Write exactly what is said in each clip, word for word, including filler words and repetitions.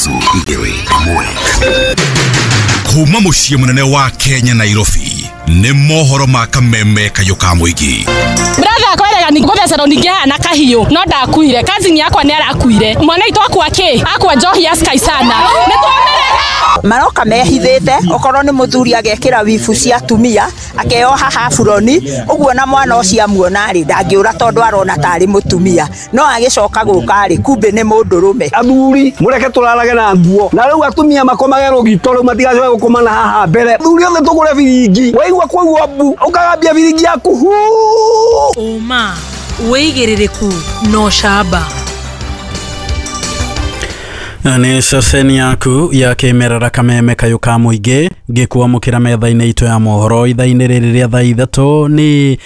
Nuthu igĩrĩ ĩmwe. Kuma mũciĩ mũnene wa Kenya, Nairobi, nĩ mohoro ma kameme kayũ ka mũingĩ. Brother akwerega ni gũthecerwo ningĩ haha na kahiũ, no ndakuire. Cousin yakwa nĩ arakuire. Mwana witũ akua kĩ? Akua njohi ya Sky sana. Nĩ twamĩrega. Maroka mehithĩte, okorwo nĩ mũthuri agekĩra wibu cia atumia, akeoha haburoni ũguo, na mwana ũcio amuona rĩ, ndangĩũra tondũ arona tarĩ mũtumia, no agĩcoka gũka rĩ, kumbe nĩ mũndũrũme. Athuri mũreke tũrarage na nguo, na rĩu atumia makomage rũgito, rĩu matigacoke gũkoma na haha mbere. Athuri othe tũgũre biringi, waigua kwaigua mbu ũkagambia biringi yaku hu. Ũma, wĩigĩrĩrĩku na ũcamba. Nĩ ceceni yaku ya kĩmerera Kameme kayũ ka mũingĩ, ngĩkwamũkĩra metha-inĩ itũ ya mohoro ithaa-inĩ rĩrĩ rĩa thaa ithatũ. Nĩ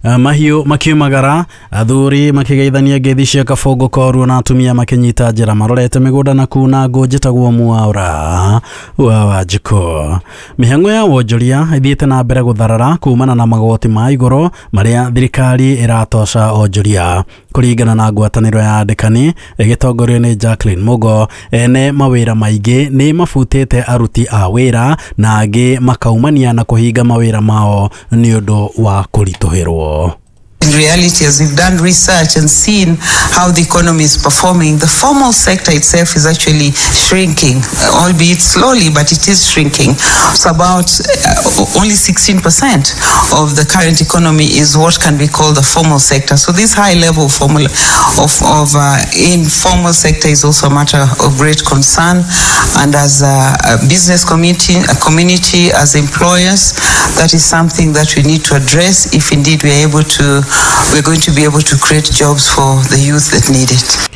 uh, mahiũ makiumagara, athuri makĩgeithania ngeithi cia kabongo koruo, na atumia makĩnyita njĩra marorete mĩgũnda na kuna ngũ. Njĩtagwo Mwaũra wa Wanjikũ. Mĩhang'o ya wonjoria ĩthiĩte na mbere gũtharara kumana na magoti ma igũrũ marĩa thirikari ĩratoca onjoria. Kũringana na ngwatanĩro ya andĩkani ĩgĩtongorio nĩ Jacqueline Mugo, ene mawĩra maingĩ nĩ mabutĩte aruti a wĩra na angĩ makaumania na kũhinga mawĩra mao nĩ ũndũ wa kũritũhĩrwo. In reality, as we've done research and seen how the economy is performing, the formal sector itself is actually shrinking, albeit slowly, but it is shrinking. So about uh, only sixteen percent of the current economy is what can be called the formal sector. So this high level of, formal, of, of uh, informal sector is also a matter of great concern. And as a, a business community, a community, as employers, that is something that we need to address if indeed we are able to we're going to be able to create jobs for the youth that need it.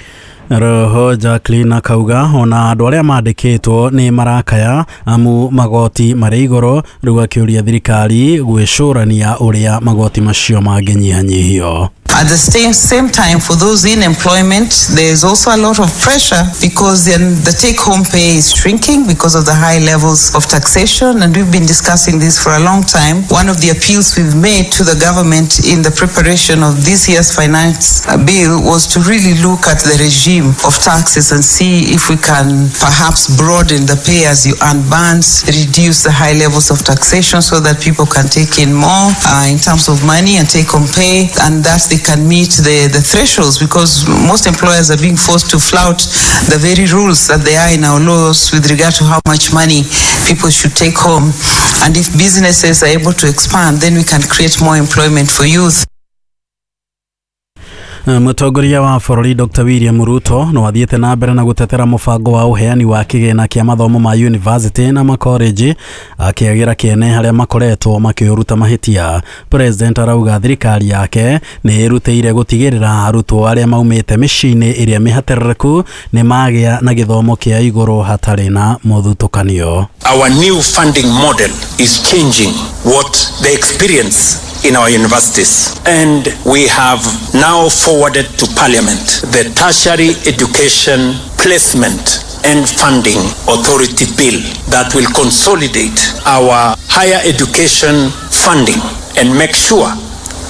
Roho Jacqueline akauga ona andũ arĩa mandĩkĩtwo nĩ marakaya amu magoti marĩ igũrũ. Rĩu akĩũria thirikari gwĩcũrania ũrĩa magoti macio mangĩnyihanyihio. At the same, same time, for those in employment, there's also a lot of pressure because then the take home pay is shrinking because of the high levels of taxation. And we've been discussing this for a long time. One of the appeals we've made to the government in the preparation of this year's finance bill was to really look at the regime of taxes and see if we can perhaps broaden the pay as you earn bands, reduce the high levels of taxation so that people can take in more uh, in terms of money and take home pay, and that they can meet the, the thresholds, because most employers are being forced to flout the very rules that they are in our laws with regard to how much money people should take home. And if businesses are able to expand, then we can create more employment for youth. Mũtongoria wa bũrũri Doctor William Ruto no athiĩte na mbere na gũtetera mũbango wa ũheani wa kĩgĩna kĩa mathomo ma university na makoreji, akĩagĩra kĩene harĩa makoretwo makĩũruta mahĩtia. President arauga thirikari yake nĩ ĩrutĩire gũtigĩrĩra arutwo arĩa maumĩte mĩciĩ-inĩ ĩrĩa mĩhatĩrĩrĩku nĩ magĩa na gĩthomo kĩa igũrũ hatarĩ na mũthutũkanio. Our new funding model is changing what the experience in our universities. And we have now forwarded to Parliament the Tertiary Education Placement and Funding Authority Bill that will consolidate our higher education funding and make sure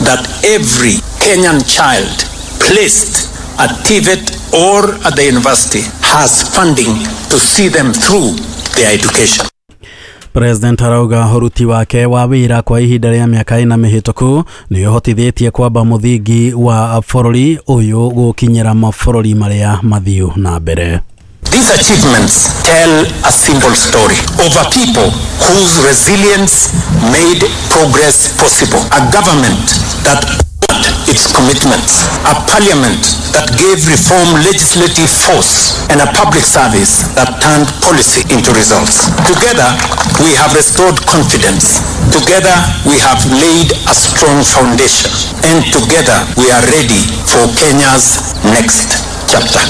that every Kenyan child placed at T V E T or at the university has funding to see them through their education. President arauga ũruti wake wa wĩra kwa ihinda rĩa mĩaka ĩna mĩhĩtũku nĩ ũhotithĩtie kwamba mũthingi wa bũrũri ũyũ gũkinyĩra mabũrũri marĩa mathiu na mbere. These achievements tell a simple story of a people whose resilience made progress possible, a government that honored its commitments, a parliament that gave reform legislative force, and a public service that turned policy into results. Together, we have restored confidence. Together, we have laid a strong foundation. And together, we are ready for Kenya's next chapter.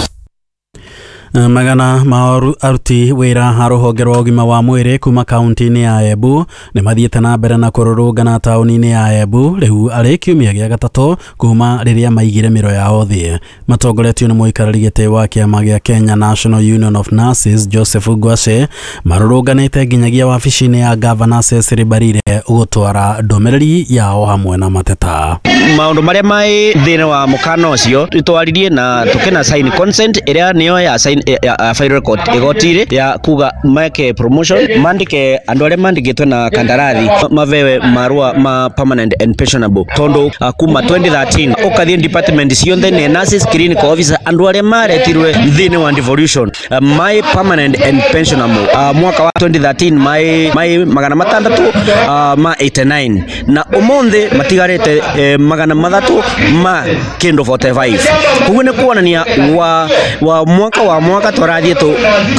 Magana ma aruti wĩra a rũhonge rwa ũgima wa mwĩrĩ kuma kaunti-inĩ ya Embu nĩ mathiĩte na mbere na kũrũrũngana taũni-inĩ ya Embu, rĩu arĩ kiumia gĩa gatatũ kuma rĩrĩa maigire mĩro yao thĩ. Matongoretio nĩ mũikarĩri gĩtĩ wa kĩama gĩa Kenya National Union of Nurses Joseph Ngwacĩ, marũrũnganĩte nginyagia wabici-inĩ ya Gavana Cecily Mbarire gũtwara ndũmĩrĩri yao hamwe na mateta. Maundu maria mai thĩinĩ wa mũkana ũcio twaririe na tukĩna sign consent ĩrĩa nĩyo ya sign ya final court igotire ya kuga make promotion mandike andu aria mandikitwe na kandarathi mavewe marua ma permanent and pensionable tondu uh, kuma twenty thirteen ukathie department cionthe ni nurses, clinical officer andu aria maretirwe thini wa devolution uh, my permanent and pensionable uh, mwaka wa twenty thirteen mai mai magana matandatu uh, ma eighty-nine na umuthi matigarite eh, magana mathatu ma kindu forty-five. Koguo ni kuonania wa wa mwaka wa mwaka turathie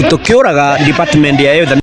tukiuraga department ya youth.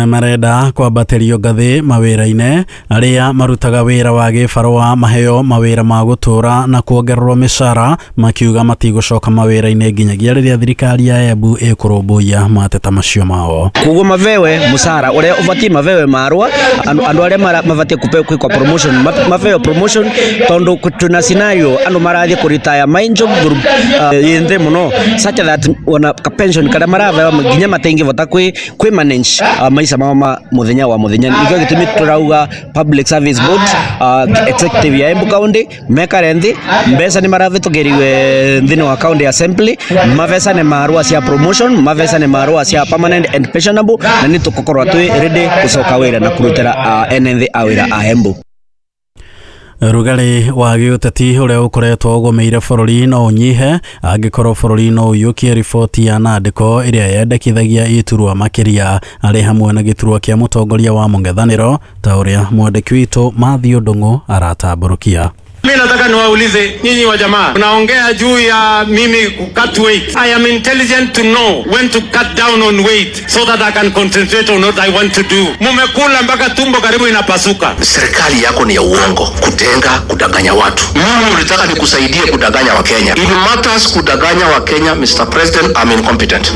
Marenda kwambatĩrio ngathĩ mawĩra-inĩ arĩa marutaga wĩra wa gĩbarũa maheo mawĩra ma gũtũra na kuongererwo mĩcara makiuga matigũcoka mawĩra-inĩ nginyagia rĩrĩa thirikari ya Embu ĩkũrũmbũiya mateta macio mao. Koguo mavewe mũcara ũrĩa ũbatiĩ mavewe marũa andũ arĩa mabatiĩ kwĩkwa promotion mavewe promotion tondu tuna scenario andũ marathiĩ kũritaya main job group uh, yĩ nthĩ mũno such that ona ka pension karĩa maravewa nginya matingĩvota kwĩ kwĩ manage uh, maisha mama muthenya wa muthenya. Nikio gitumi turauga Public Service Board uh, executive ya Embu County mekare nthi mbeca ni maravitugiriwe nthini wa county assembly mavesa ni marua cia promotion mavesa ni marua cia permanent and pensionable na ni tukukorwa twi ready gucoka wira na kurutira uh, ene nthi a wira a Embu. Rugarĩ wa gĩũteti ũrĩa ũkoretwo ũgũmĩire bũrũri no ũnyihe angĩkorwo bũrũri no ũiyũkie riboti ya nandĩko ĩrĩa yendekithagia iturwa makĩria arĩ hamwe na gĩturwa kĩa mũtongoria wa mũng'ethanĩro ta ũrĩa mwandĩki witũ Matthew Ndung'u aratambũrũkia. Mimi nataka niwaulize nyinyi wa jamaa, mnaongea juu ya mimi ku cut weight. I am intelligent to know when to cut down on weight so that I can concentrate on what I want to do. Mumekula mpaka tumbo karibu inapasuka. Serikali yako ni ya uongo, kutenga, kudanganya watu. Mimi ulitaka nikusaidie kudanganya Wakenya. It matters kudanganya Wakenya, Mister President, I'm incompetent.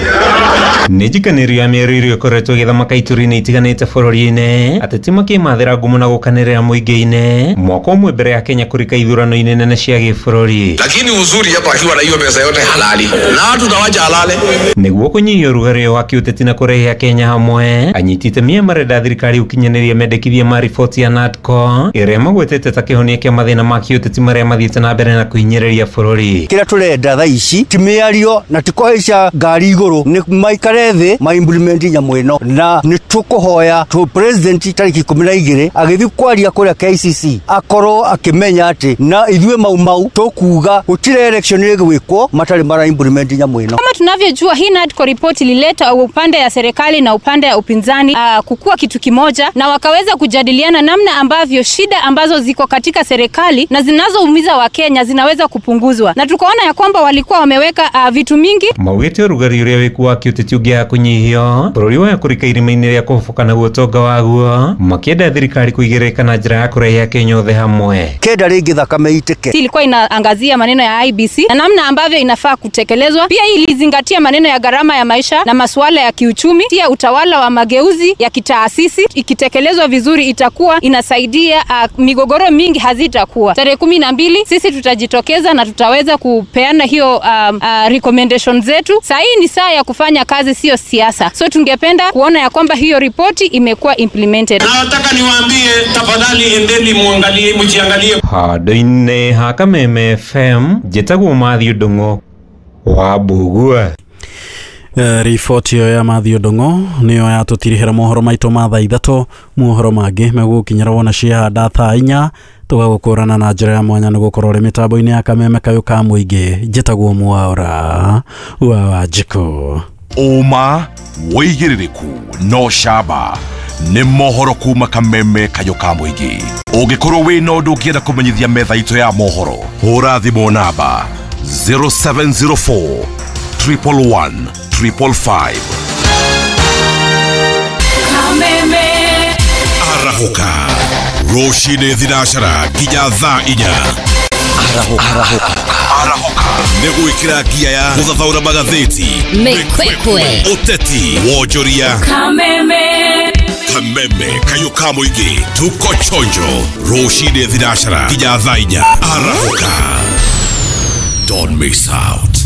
Nĩnjikanĩrio mĩario ĩrĩa ĩkoretwo ĩgĩthamaka ituri-inĩ itiganĩte bũrũri-inĩ ateti makĩmathĩra ngumo na gũkanĩrĩra mũingĩ-inĩ mwaka ũmwe mbere ya Kenya kũrika ithurano-inĩ nene cia gĩbũrũri. Lakini uzuri hapa akiwa na hiyo pesa yote halali na watu tawacha halale. Nĩguo kũnyihia ũrugarĩ wa kĩũteti na kũrehe Kenya hamwe, anyiti itemi marenda thirikari ũkinyanĩrie mendekithia ma riboti ya NADCO ĩrĩa magwetete ta kĩhonia kĩa mathĩna ma kĩũteti marĩa mathiĩte na mbere na kũhinyĩrĩria bũrũri. Kĩrĩa tũrenda thaa ici ti mĩario na ti kũhaica ngari igũrũ, nĩ maikare thĩ ma implement nyamũ ĩno, na nĩ tũkũhoya tũ president tarĩki ikũmi na igĩrĩ agĩthiĩ kwaria kũrĩa K I C C akorwo akĩmenya atĩ na ithuĩ mau mau tũkuga gũtirĩ election ĩgwĩkwo matarĩ mara implement nyamũ ĩno. Kama tunavyojua hii NADCO report ilileta upande ya serikali na upande ya upinzani uh, kukua kitu kimoja, na wakaweza kujadiliana namna ambavyo shida ambazo ziko katika serikali na zinazoumiza Wakenya zinaweza kupunguzwa, na tukaona ya kwamba walikuwa wameweka uh, vitu mingi. Maugĩte ũrugarĩ ũrĩa wĩkuo wa kĩũteti ũngĩaga kũnyihio bũrũri wa kũrika irima-inĩ rĩa kũhoboka naguo ũtonga waguo, makĩenda thirikari kũigĩrĩrĩka na njĩra ya kũrehe Akenya othe hamwe. Kenda rĩngĩ thakame itĩke. Ilikuwa inaangazia maneno ya I B C na namna ambavyo inafaa kutekelezwa. Pia ilizingatia maneno ya gharama ya maisha na masuala ya kiuchumi, pia utawala wa mageuzi ya kitaasisi. Ikitekelezwa vizuri itakuwa inasaidia uh, migogoro mingi hazitakuwa. Tarehe kumi na mbili sisi tutajitokeza na tutaweza kupeana hiyo um, uh, recommendation zetu. Saa hii ni saa ya kufanya kazi, sio siasa. So tungependa kuona ya kwamba hiyo ripoti imekuwa implemented. Nataka niwaambie tafadhali, endeni muangalie, mjiangalie. Handũ-inĩ ha Kameme F M njĩtagwo Matthew Ndung'u wa Mbugua. Riboti ĩyo ya Matthew Ndung'u nĩyo yatũtirihĩra mohoro maitũ ma thaa ithatũ. Mohoro mangĩ megũgũkinyĩra wona ciahanda thaa inya tũgagũkũrana na njĩra ya mwanya nĩ gũkorwo ũrĩ mĩtambo-inĩ ya Kameme kayũ ka mũingĩ. Njĩtagwo Mwaura wa Wanjikũ. Ũma wĩigĩrĩrĩku no camba nĩ mohoro kuma Kameme kayũ ka mũingĩ. Ũngĩkorwo wĩna ũndũ ũngĩenda kũmenyithia metha itũ ya mohoro, hũra thimũ namba zero seven zero four triple one triple five. Kameme Arahũka rũcinĩ thinacara nginya thaa inya. Arahũka Arahũka nĩ gwĩkĩra ngia ya gũthathaũra magathĩti, mĩkwekwe, ũteti, wonjoria. Kameme Kameme kayũ ka mũingĩ, tuko chonjo rũcinĩ thinacara nginya thaa inya. Arahũka, don't miss out.